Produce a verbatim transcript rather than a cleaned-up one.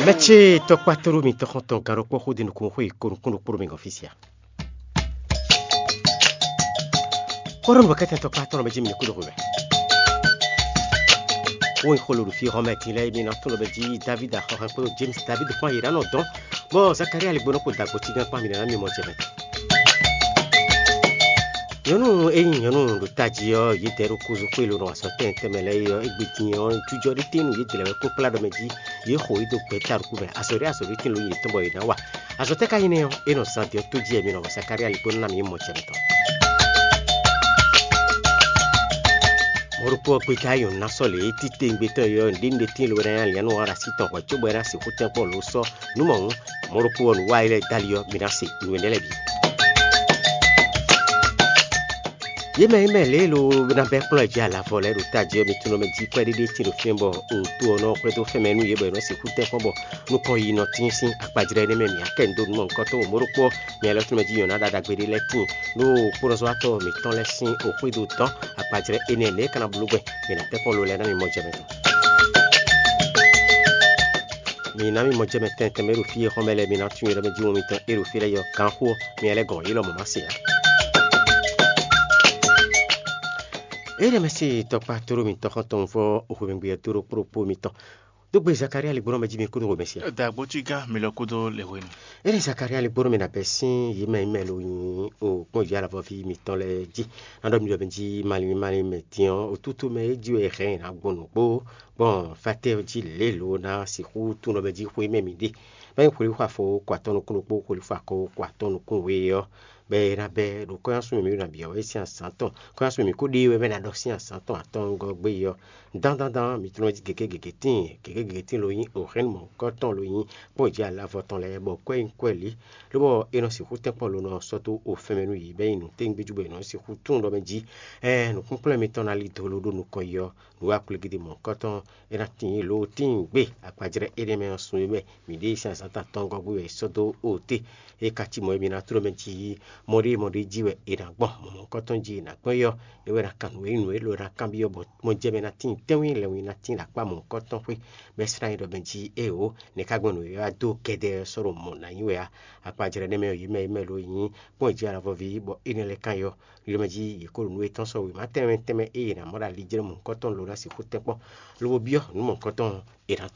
Mɛ ce tɔkpá tlóló mitɔn xɔ́ntɔn gǎn ɖokpó xó ɖi nukúnxó e ko nukún ɖokpó ɖo mi gɔ́n fí sia. Kóɖó nǔ kɛ́tɛ́ tɔkpá tɔn mɛ jí mi kúɖo xwé wɛ. Wo nyí xolo ɖo fí xɔmɛ tín lɛ́ɛ mi ná tɔn lɔ mɛ jí David axɔxɛ kpódó James David kpán yě ná nɔ dɔn, bɔ Zakaria ligbónɔ kpo dagbo tígán kpán mi ná mi mɔ jɛ mɛ. Nyɔ̌nu e nyí nyɔ̌nu ɖo tají ɔ́, yě dɛ ɖo kozo xwé lǒ nɔ azɔ̌ tɛnmɛ tɛnmɛ lɛ́ɛ é ɔ́, égbé din ɔ́, jujɔ ɖé tɛ́nnu yě dlɛ̌ wɛ kpókplá ɖɔ mɛ jí, yě xo yě dó gbɛ̌ta ɖokpó mɛ. Azɔ̌ ɖé azɔ̌ ɖé tɛ́nnu yě tɔn bɔ yě ná wa. Azɔ̌ tɛ́ ka nyí nɛ́ ɔ́? É nɔ zán din ɔ́ tó jí wɛ mi nɔ hɔn Zakalía ligbó ná mi mɔ jɛ mitɔn. Mɔ̌ ɖokpó ɔ́, gbeta e nyɔ̌nu ná sɔ́ lě títewungbe tɔn é ɔ́, nǔɖé nǔɖé tíin lobo ná nyí aliǎnnú ɔ́ ɖo así tɔn hwɛ̌ cóbɔ é ná sixú tɛ́nkpɔ́n lǒ sɔ́ nǔ mɔ̌hun. Mɔ̌ ɖokpó ɔ́, nǔwanlilɛ Dali ɔ́, mi ná se nǔ énɛ́ lɛ́ɛ bǐ. Yě mɛ e mɛ lě e lo ná bɛ́ kplɔ́n ɛ jí alavɔ lɛ́ɛ ɖo tají ɔ́, mi tunwun mɛ jí kwɛ́ɖéɖé tíin ɖo fínɛ́ bɔ to ɔ́ nɔ xwedó fɛ́nmɛ nú yě bɔ yě nɔ sixú tɛ́nkpɔ́n bɔ nukɔn yi nɔ tíin sín akpajlɛ́ énɛ́ mɛ mǐ akɛ nǔ dó nǔ mɔ̌hunkɔtɔn mɔ̌ ɖokpó ɔ́, mi alɔ tɔn mɛ jí nyɔ̌ná ɖaɖagbe ɖé lɛ́ɛ tíin ɖó kpónɔzɔ́watɔ́ mǐtɔn lɛ́ɛ sín oxwído dɔn akpajlɛ́ énɛ́ nɛ̌ é ka ná bló gbɛn mi ná tɛ́nkpɔ́n lo lɛ́ɛ ná mi mɔ jɛ mɛ tɔn. Mi ná mi mɔ jɛ mɛ tɛntɛn mɛ e ɖo fí e xɔ́n mɛ lɛ́ɛ mi ná tunwun yɔ́ mɛ jí wɔn mitɔn e ɖo fí lɛ́ɛ yɔ gǎnxó ɔ́, mi lɛ́ gɔn yě lɔmɔ̌ má se ǎ. Énɛ́ mɛ se tɔkpá tóɖó mitɔn xɔ́ntɔn vɔ́ xwemɛgbé ɔ́ tóɖó kpóɖokpó mitɔn dó gbe Zakalía ligbɔ́nɔ mɛ jí mi kúnnu xomɛ se ǎ. Dǎgbótígán mi lɔ kúdó le hwenu. Ényí Zakalía ligbɔ́nɔ mɛ ɖo abɛ sín yě mɛ e mɛ lo nyi o kpɔ́n yě alavɔví mitɔn lɛ́ɛ jí, ná ɖɔ mi ɖɔ mi jí malín malín mɛ din ɔ́, otútú mɛ é jí wɛ è hɛn ɛ ná gbɔn nǔgbó gbɔn fátɛ́ jí lě lo ná sixú tunwun ɖɔ mɛ jí xwé mɛ mi ɖe. Bɔ é nyí xwelíxwa fó ko atɔ́ nukún ɖokpó, xwelíxwa ko ko atɔ́ nukún we ɔ́, bɔ é ná bɛ́ ɖo kɔ́nyásun mɛ mi ɖo nǎ byɔ́ wɛ sín azǎn tɔn. Kɔ́nyásun mɛ mi ko ɖe wɛ bɛ́ ná ɖɔ sín azǎn tɔn atɔ́wungɔ́ gbé ɔ́, dán dán dán, mi tlɔ́n jí gěgé gěgé tíin, gěgé gěgé tíin lo nyí Oxɛ́n mɔ̌hunkɔtɔn lo nyí kpɔ́n jí alavɔ tɔn lɛ́ɛ, bɔ kwɛ́ nyí kwɛ́ lě, lóbɔ é nɔ sixú tɛ́nkpɔ́n lo nɔ sɔ́ dó o fɛnmɛ nú yě, bɔ é nyí nǔtɛ́ngbéjú bɔ è nɔ sixú tunwun ɖɔ mɛ jí, ɛɛ, nǔkplɔ́nkplɔ́n mitɔn ná lí dó ló ɖó nukɔn yi ɔ́, nǔ wa kplégídí mɔ̌hunkɔtɔn é ná tíin lǒ tíin gbé akpajlɛ́ énɛ́ mɛ ɔ́ sun é mɛ mǐ ɖe sín azǎn tɔn atɔngɔ́ gbé wɛ è sɔ́ dó o té. É ka cí mɔ̌ e mi ná tló mɛ jí mɔɖémɔɖé jí wɛ è nǎ gbɔn mɔ̌hunkɔtɔn jí è nǎ gbɔn é ɔ́, é wɛ ná kan nǔ e nyí nǔ élɔ́ ná kanbyɔ́ bɔ mɔjɛmɛ ná tíin tɛ́nwí lɛ́nwí ná tíin ɖo akpá mɔ̌hunkɔtɔn xwé, bɔ é slá nyí ɖɔ mɛ jí éeǒ, nɛ̌ ka gbɔn nǔ e wá dó kɛ́dɛ́ ɔ́ sɔ́ ɖo mɔ̌ ná nyí wɛ á? Akpajlɛ́ nɛ́ mɛ ɔ́, yě mɛ e mɛ lo nyí kpɔ́n jí alavɔví bɔ énɛ́ lɛ́ɛ kan yɔ. Ɖiɖɔ mɛ jí yě ko ɖo nǔ yětɔn sɔ́ wěma tɛnmɛ tɛnmɛ e yě ná mɔ ɖo ali jlɛ́ mɔ̌hunkɔtɔn lǒ ná sixú tɛ́nkpɔ́n, lobo byɔ́ nǔ mɔ̌hunkɔtɔn è nǎ to.